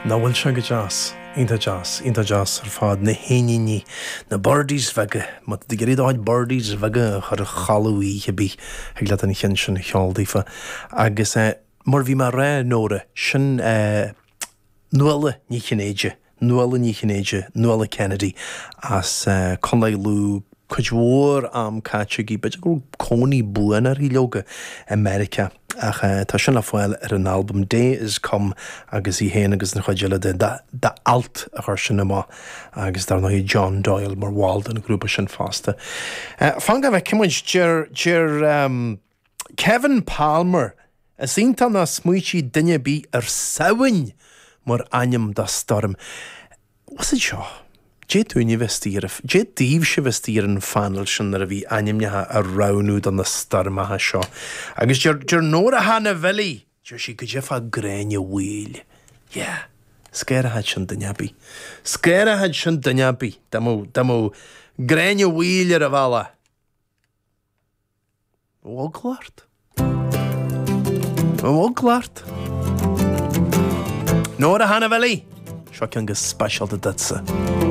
Nach bhfuil sé go deas? Iontach deas, iontach deas ar fad. Na héiníní, na birdies bheaga. Má tá tú ag iarraidh do chuid birdies bheaga a chur a chodladh oíche ar bith, thig leat an cheann sin a cheol daofa. Agus mar bhí mé a rá, Nóra, sin Nuala Ní Chinnéide, Nuala Ní Chinnéide, Nuala Kennedy as Contae Lú, cuid mhór am caite aici, b'fhéidir go raibh cónaí buan uirthi leoga i Meiriceá ach tá sin le fáil ar an albam Day Is Come agus í féin agus an chuid eile de d'Alt a chuir sin amach agus dar ndóigh John Doyle mar bhall den ghrúpa sin fosta. Fan go bhfeicfidh muid, deir, deir Kevin Palmer, Is iontach nár smaoitigh duine ar bith ar Samhain mar ainm do stoirm. What's it seo? Dé dúinne a bheith istigh ar, dé daoibhse a bheith istigh ar an phainéal sin nuair a bhí ainmneacha á roghnú do na stoirmeacha seo. Agus deir, deir Nóra Hannah Bhilly, deir sí goidé fá Gráinne Mhaol. Yeah. Scanródh sin duine ar bith. Scanródh sin duine ar bith dá mbeadh, dá mbeadh Gráinne Mhaol ar an bhealach. Eagla ort? Eagla ort? Nóra Hannah Bhilly! Seo ceann go speisialta duitse.